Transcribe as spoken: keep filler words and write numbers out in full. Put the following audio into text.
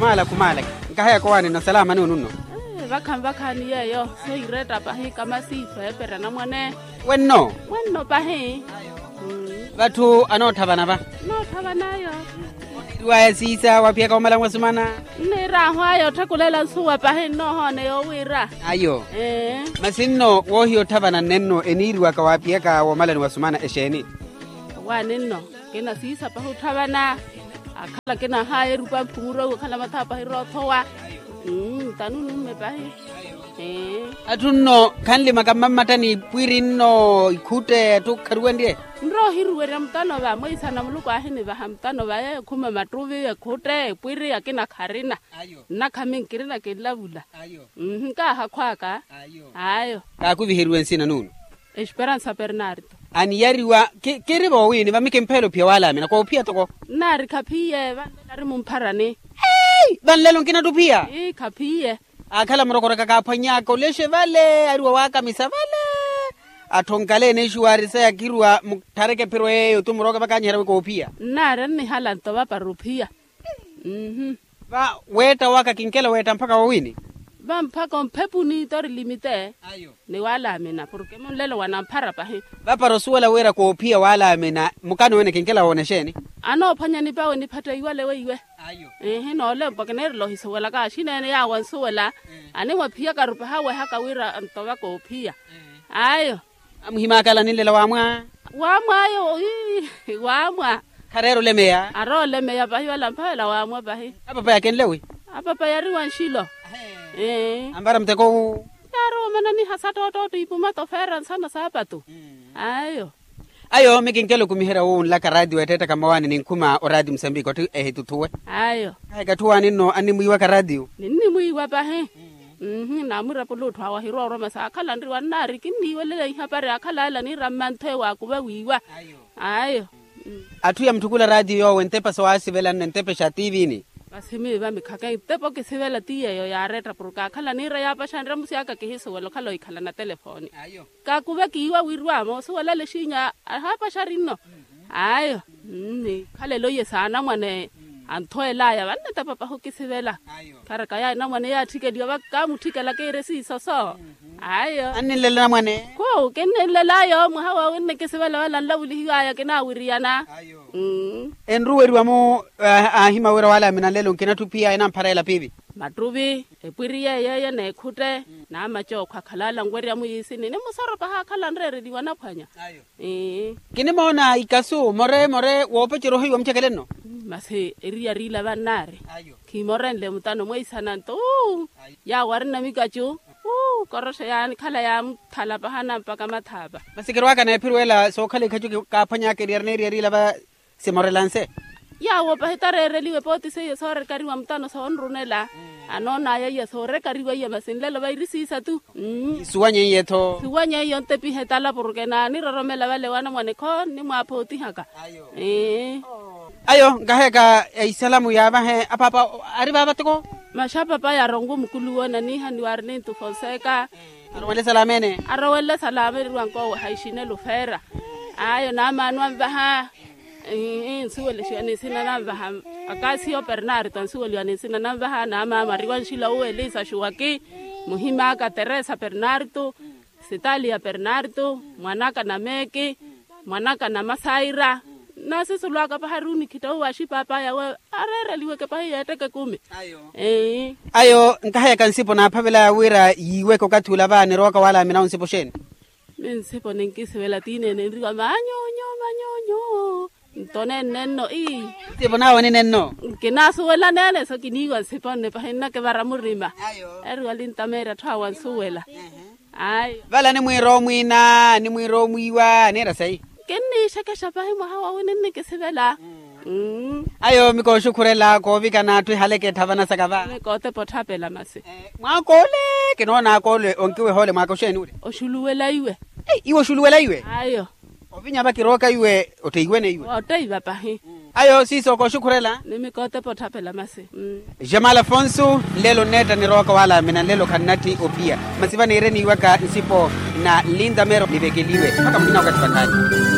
Khumaalaka khumaalaka. Nkaheyaka owaani nno salama nuununno. Vakha nvakhaani yeeyo. Sohireetta pahi kamasi feeperya namwane. Wenno. Wenno pahi. Vatthu anootthavana va. Nootthavan'ayo. Iriwaya siisa waphiyaka wamala mwasumana. Nniir'ahu ayo otthekulela nsuwa pahi nnoohoone yoowiira. Ayo. Masi nno woohiya otthavana nnenno eniiriwaka waaphiyaka woomalani wasumana exeeni? Waani nno. Kina siisa pahi otthavana. Akhala kina haya erupa mphumuro awe okhala mathawa pahi roothowa. Mmm tanu numme pahi. Atthu nno khanlimaka mmammattani ipwiri nno ikhutte atthu kharuwenrye. Nroohiruwerya mutano va mweisana muluku aahinivaha mutano va yeeyo khuma mattuvi ekhutte epwiri akina kharina. Nnakha minkirina kinlavula. Nkaahakhw'aka. Ayo. Kaakuviheriwe nsina nuuno. Esperansa pernarto. Aniyariwa. Kiri voowiini vami kimpheela ophiya waalaamina koophiya toko. Nnaari khaphiye vanlelo ari mumpharani. Vanlelo nkinattuphiya. Ii khaphiye. Aakhala murokoraka kaaphwany'aka olexe vale ari wawaakamisa vale. Atthu onkaleene exuwaari saya kiruwa mutthareke ephiro yeeyo tu murooke vakaanyiherya wi koophiya. Nnaari annihala nto vapara ophiya. Va weetta waka kinkela weetta mpakha woowiini. Va mpakha omphepuni tori limite. Ni waalaamina porke munlelo wanamphara pahi. Vapara osuwela wira koophiya waalaamina mukano wene kinkela woona exeeni? Anoophwanya nipawe niphatta iwale weiwe. Ihi noolempa kineerela ohisuwelaka axineene yaawo ansuwela. Animwaphiyakaru pahi awehaka wira antova koophiya. Ayo. Amuhimaakala ninlela waamwa. Waamwa ayo. Waamwa. Khareera olemeya. Arowa olemeya pahi wala mphavela waamwa pahi. Apapa yakenle wi? Apapa yari wa nxilo. Ampara muteko wu? Yari woomananiha sattootto ipuma tofeera nsana saapatu. Ayo. Ayo mikinkela okumiherya wu nlaka raatiyo weetteettaka mmawaani ninkhuma oraatiyo musambiki otti ehituthuwe. Ayo. Kaheka atthu waani nno annimwiiwaka raatiyo. Ninnimwiiwa pahi. Mmm naamurapula otthu awo ahirwa oroma saakhala nriwa nnaari kinniiwelela ihapari aakhala ala niira mmantho ewo aakuva wiiwa. Ayo. Atthu yamutthukula raatiyo yoowo entepa sowaasivelanno entepa exa tiivini. Masi miiva mikhaka entepa okisivela ti yeeyo yaaretta porke aakhala niira yaapaxa nramusi aka kihisuwela okhala ohikhala na telefooni. Kaakuva kiiwa wirwa moosuwela lexinya ahaapaxari nno. Ayo. Nikhalela oiye saanamwane anthweel'aya vannetepa pahi okisivela. Kharaka yaani namwane yaatthikeliwa vaka kaamutthikela kiiri siisoso. Ayo. Anninlela namwane. Khu kinninlel'ayo mwaha woowi nnikisivela wala nlavulihiw'aya kinaawiriyana. Enruweriwa-mu aahima wira waalaamina nlelo nkinattuphiya enamphara ela piivi. Mattuvi epwiri yeeyo eye n'ekhutte. Naamacookho akhalala nwerya muyiisini ni musoro pahi akhala anreereliwa anaphwanya. Kinimoona ikasu more more woopecerya ohiiwa mucekele nno. Masi eriyari ila vannaari. Khimorenle mutano mweisana nto. Yaawo arina mikacu. Koroxa yaanikhala yaamuthala pahana mpaka mathaapa. Masi kirwaaka n'ephiro ela sookhala ikhacu kaaphwany'aka eriyari n'eriyari ila va. Simorela nse. Yaawo pahi tareereliwe pooti seiye soorekariwa mutano soonrunela. Anoon'aya iya soorekariwa iya masi nlelo vairi siisa tu. Suwanye iye-tho. Suwanye iyo ntepihe tala porke naaniroromela vale wanamwane kho nnimwaaphootihaka. Ayo nkaheyaka isalamu yaavahe apaapa ari vaava toko. Maxapapaya arongo mukuluwo naniiha ni warnintu fonseca. Arowenle salama ene. Arowenle salama eri wankowe haixinelo feera. Ayo naamaano anvaha. Nsuwelixiwa ni nsina nanvaha. Akasiyo pernarto ansuweliwa ni nsina nanvaha naamaamo ari wanxila uwo elisa xuwaki. Muhim'aka teresa pernarto. Sitalia pernarto. Mwan'aka na meeki. Mwan'aka na masaira. Naasisulu aka pahi ari onikhita uwo axipapaya we areereliweke pahi yeetteke ekumi. Ayo nkaheyaka nsipo naaphavelaya wira yiiweke okathi ula va nirowaka waalaamina awo nsipo xeeni? Minsipo ninkisivela tiineene nriwa manyonyo manyonyo. Nto nenne nno ii. Nsipo nawe nine nno. Nkinaasuwela neene so kiniiwa nsipo nne pahi nnakivara murima. Eri walintameerya atthu awo ansuwela. Ayo. Vale animwiira omwiina animwiira omwiiwa aniira sayi. Kinniixekexa pahi mwaha woowi ninnikisivela. Ayo mikooxukhurela koovikana atthu ehaleke etthavanasaka va. Mikootepa otthapela masi. Mwaak'ole kinoon'aka ole onkiweha ole mwaaka oxeeni ule? Oxuluwela iwe. Iwe oxuluwela iwe? Ayo. Ovinya va kirooka iwe otteiwene iwe. Otteiva pahi. Ayo siiso kooxukhurela. Ni mikootepa otthapela masi. Jamal afonso nlelo nneetta nirowaka waalaamina nlelo khannatthi ophiya. Masi va niireniiwaka nsipo na nlintamero nivekeliwe mpakha muhina wakathi vakhaani.